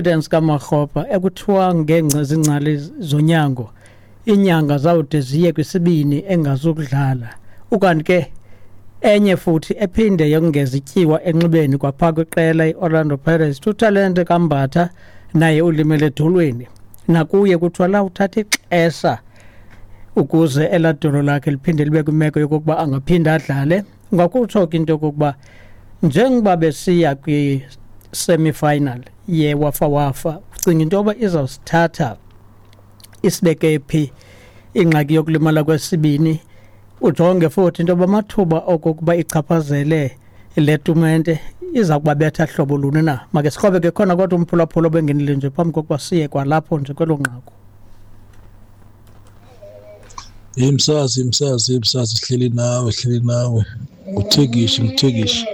Confidence kaMakgopa ekuthiwa ngeengcali zonyango iinyanga zawude ziye kwisibini engazukudlala. Ukanti ke enye futhi ephinde yongeza ityiwa enxibeni kwapha kwiqela i-Orlando Pirates uTalente kaMbatha naye ulimele edolweni. Nakuye kuthiwa lawuthatha ixesha ukuze elaa dolo lakhe liphinde libe kwimeko yokokuba angaphinda adlale. Ungakutsho ke into yokokuba njengoba besiya kwi-semi-final yeWafa Wafa, ucinga into yoba izawusithatha isibeke phi ingxaki yokulimala kwesibini? Ujonge futhi into yoba amathuba okokuba ichaphazele le tumente iza kubabetha hlobo luni na? Make sikrobe ke khona kodwa umphulaphula obengenile nje phambi kokuba siye kwalapho nje kwelo nqaku. Hey msazi, msazi, msazi, sihleli nawe, sihleli nawe. Nguthekishi, nguthekishi.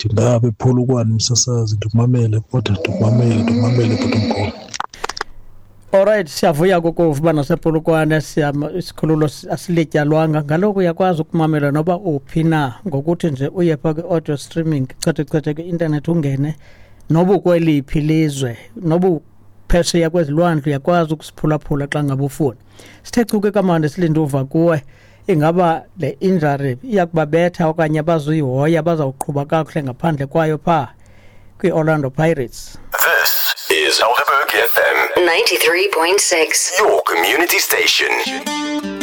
Ndingapha ePolokwane msasazi, ndikumamele kodwa ndikumamele, ndikumamele bhuti omkhulu. Alright, siyavuya kukuva uba nasePolokwane isikhululo asilityalwanga. Ngaloko uyakwazi ukumamela noba uphi na ngokuthi nje uye phaa kwi-audio streaming, chethe chethe kwi-intanethi ungene noba ukweliphi ilizwe, noba phesheya kwezilwandle uyakwazi ukusiphulaphula xa ngabe ufuna. Sithe chu ke kamandi silinde uva kuwe, ingaba le injury iya kubabetha okanye abazuyihoya, bazawuqhuba kakuhle ngaphandle kwayo phaa kwi-Orlando Pirates? This is Helderberg FM 93.6. your community station.